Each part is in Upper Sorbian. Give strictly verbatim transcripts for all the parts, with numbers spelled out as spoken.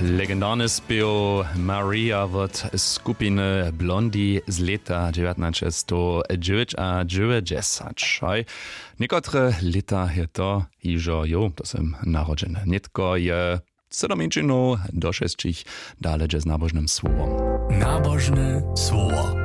Legendarny spěw Maria wot skupiny Blondie z lěta dźewjatnaćestowdźewjećadźewjećdźesat. Haj, někotre lěta je to hižo, jo, to sym narodźeny. Nětko je sydominčinow do šesćich, dale dźe z nabožnym słowom. Nabožne słowo.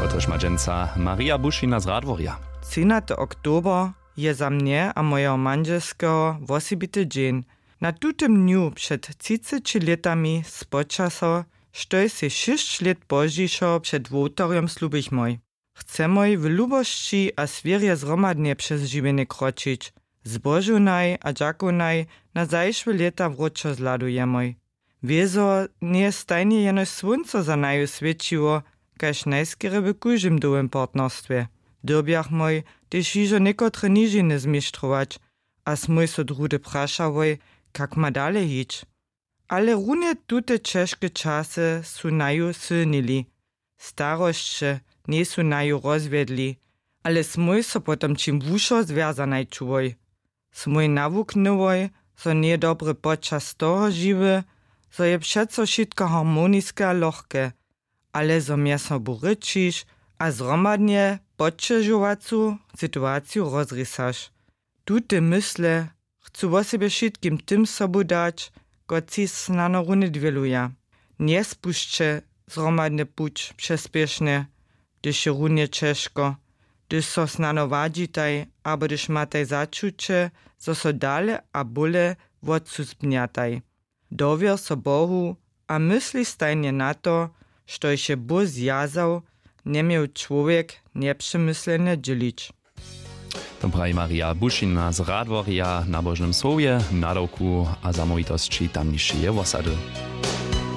Kotrež ma dźensa Maria Bušina z Radworja. Třinaty oktober je za mnje a mojeho mandźelskeho wosebity dźeń. Na tutym dnju před třiceći lětami spoča so, štož sej šěsć lět pozdźišo před wołtarjom slubichmoj. Chcemoj w lubosći a swěrje zhromadnje přez žiwjenje kročić. Zbožownaj a dźakownaj na zašłe lěta wróćo zhladujemoj. Wězo njeje stajnje jenož słónco za naju swěćiło, kaž najskerje w kóždym dołym partnerstwje. Dyrbjachmoj tež hižo někotre nižiny zmištrować, a smój so druhdy prašałoj, kak ma dale hić. Ale runje tute ćežke časy su naju sylnili. Starosće njejsu naju rozwjedli, ale smój so potom ćim wušo zwjazanaj čułoj. Smój nawuknyłoj, zo njeje dobry počas toho žiwy, zo je přeco wšitko harmoniske a lochke, ale zo mjez sobu rěčiš a zhromadnje poćežowacu situaciju rozrisaš. Tute mysle chcu wosebje wšitkim tym sobu dać, kotřiž snano runje dwěluja. Njespušće zhromadny puć přespěšnje, hdyž je runje ćežko, hdyž so snano wadźitaj abo hdyž mataj začuće, zo so dale a bóle wotsuzbnjataj. Dowěr so Bohu a mysli stajnje na to, štož je Bóh zwjazał, njeměł čłowjek njepřemyslenje dźělić. To praji Maria Bušina z Radworja w nabožnym słowje, nadawku a zamołwitosći tamnišeje wosady.